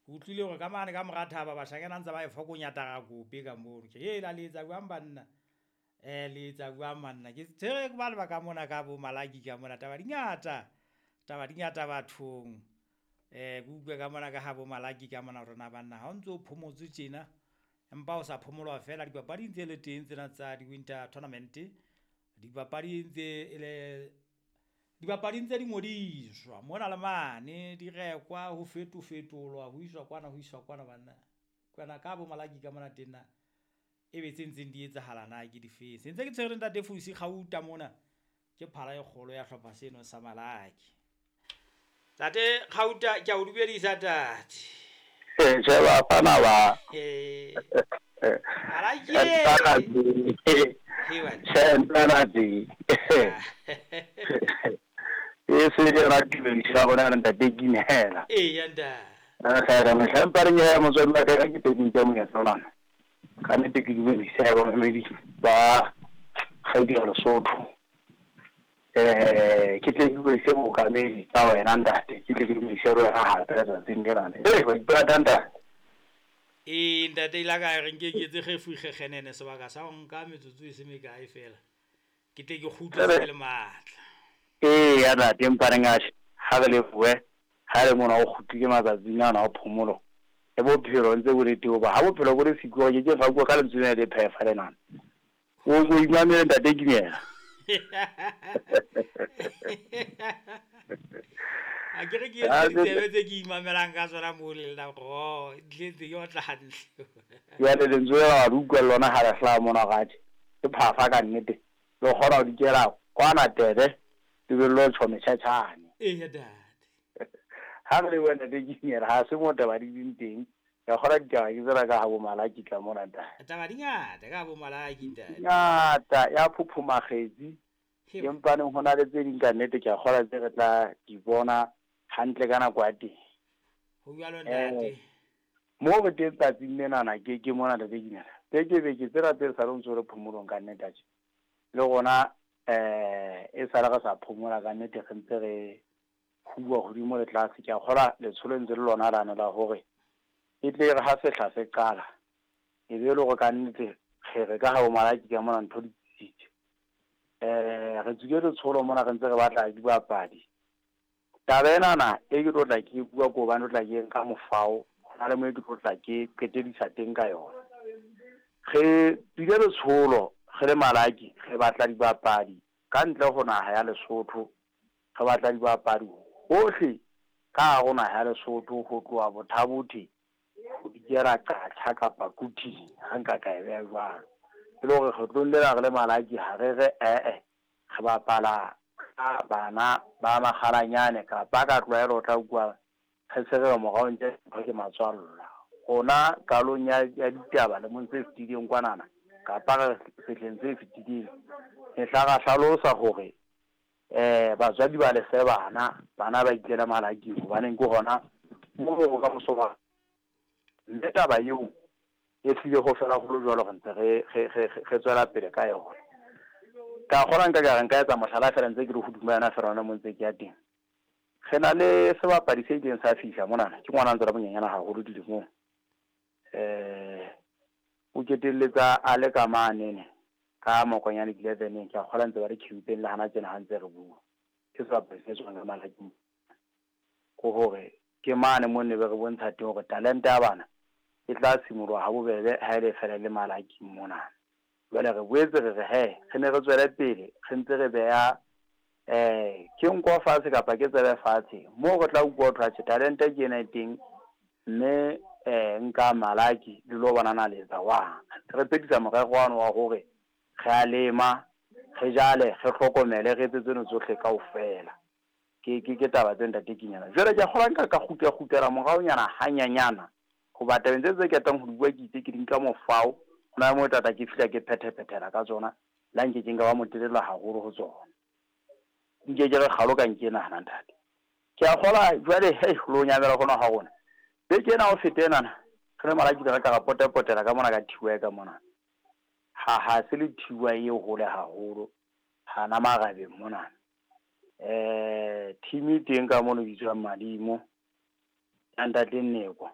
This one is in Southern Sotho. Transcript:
Ke utlwile hore ka mane ka mora thaba bashanyana ntse ba e fokonya tarakope ka mono. Ke hela le etsa jwang banna? Le etsa jwang banna? Ke tshwere ba le ba ka mona ka bo Malaki ka mona, taba di ngata. Taba di ngata bathong. Ke utlwe ka mona ka ha bo Malaki ka mona hore na banna ha o ntso phomotse tjena, empa o sa phomolwa fela dipapadi ntse le teng tsena tsa di-winter tournament. Dipapadi ntse e le dibapadi ntse di ngodiswa mona le mane, di rekwa ho fetofetolwa ho iswa kwana ho iswa kwana banna. Kwana ka bo Malaki ka mona teng na ebe tse ntseng di etsahala na ke difeng? Se ntse ke tshwere ntate Fusi Kgauta mona, ke phala e kgolo ya hlopha seno sa Malaki. Tate Kgauta, ke a o dumedisa tate. Tjhe, bafana ba. Malaki. Tjhe, ntana tse. E se le ra tumediso ya rona ntate Kinehela. Eya ntate. Re mehla empa re nyeha motswadi wa ka ke teng ke monyetla ona. Ka nnete ke dumedisa ya bamamedi ba kgaidi ya Lesotho. Ke tle ke dumedise mookamedi ka wena ntate, ke tle ke dumedise le wena hape letsatsing lena. Wa ipata ntate. Ee ntate, ile ka re nke ke etse kgefu kgekgenene sebaka sa ho nka metsotso e se mekae fela. Ke tle ke kgutle se le matla. Ee ya ntate, empa re ngatjhe ha re lebohe ha le mona o kgutlile matsatsing ana a phomolo. Le bophelo ntse bo le teng hoba ha bophelo bo le siko ke ke fa bua ka lentswe lena le phefa lenana. O o imamele ntate Kinela. A ke re ke etse ditsebe tse ke imamelang ka tsona moo le nna gore oh, ntle ke otla hantle. Jwale lentswe lena wa le utlwa le lona ha le hlaha mona hore atjhe ke phafa ka nnete. Le kgona ho dikela kwana tebe le be le lo tjho metjhatjhane. Eya ntate. Ha re lebohe ntate Kinela, ha se mo taba di leng teng. Ke a kgolwa ditaba ke tsena ka ha bo Malaki tla mona ntate. Taba di ngata ka bo Malaki ntate. Ngata ya phophoma kgetsi. Empaneng ho na le tse ding ka nnete ke a kgolwa tse re tla di bona hantle ka nako ya teng. Ho jwalo ntate. Mo re teng tsatsing lenana ke ke mona ntate Kinela. Beke beke tsena tse sa le ntso re phomolong ka nnete atjhe. Le rona e sale re sa phomola ka nnete re ntse re huwa hodimo le tlase. Ke a kgolwa letsholo ntse le lona lane la hore e tle re ha sehla se qala e be le hore ka nnete re re ka ha bo Malaki ka mona ntho di tsitsitse. Re tswile letsholo mona re ntse re batla dibapadi. Taba enana e ke tlo tla ke bua ko hobane o tla ke nka mofao, hona le mo e ke tlo tla ke qetedisa teng ka yona. Re tswile letsholo re le Malaki re batla dibapadi ka ntle ho naha ya Lesotho. Re batla dibapadi hohle ka hare ho naha ya Lesotho ho tloha Botha-Bothe ho dikela Qacha kapa Quthing, ha nka ka e beha jwalo. E le hore kgetlong lena re le Malaki ha re re ee re bapala ka bana ba makgalanyane kapa ka tlwaelo o tla utlwa re se re re morao ntle ntho ke matswalla. Rona qalong ya ya ditaba lemong se fetileng kwanana kapa re sehleng se fetileng mehla ra hlalosa hore batswadi ba lefe bana, bana ba ikele Malaking hobaneng ke hona moo bokamoso ba. Mme taba eo e hlile ho fela ho le jwalo re ntse re re re re tswela pele ka yona. Ka kgolwa nka ka re nka etsa mohlala feela ntse ke le hodima yona feela hona mo ntse ke ya teng. Re na le sebapadi se ileng sa fihla monana, ke ngwana a ntse a le monyenyana haholo dilemong. O ketelletsa a le ka manene ka Mokonyane 11-eng, ke a kgolwa ntse ba le campeng le hana tjena ha ntse re bua. Ke sebapadi se tswang ka Malaking. Ke hore ke mane mo ne be re bontsha teng hore talente ya bana e tla simoloha ha bobebe ha e le fela le Malaking mona. Jwale re boetse re re he re ne re tswele pele re ntse re beha ke nko fatshe kapa ke tsebe fatshe moo re tla utlwa ho thwe atjhe talente ke ena e teng mme nka Malaki le lo bona na le etsa jwang. Re phethisa morero wane wa hore re a lema, re jale, re hlokomele, re etse tseno tsohle kaofela. Ke ke ke taba tse ntate Kinyana. Jwale ke a kgolwa nka ka kgutla kgutlela moraonyana hanyanyana hoba tabeng tse tse ketang ho di bua ke itse ke di nka mofao. Ho na le moo tla tla ke fihla ke phethephethela ka tsona le ha nke ke nka ba motelele haholo ho tsona. Nke ke re kgalo ka nke nahana ntate. Ke a kgolwa jwale hei lo nyamela hona ha rona. Beke ena ho feta enana re le Malakile re ka ra potapotela ka mona ka Thiwae ka mona. Ha ha se le Thiwae e hole haholo hana marabeng monana. Team e teng ka mono e bitswang Madimo ya ntate Nneko.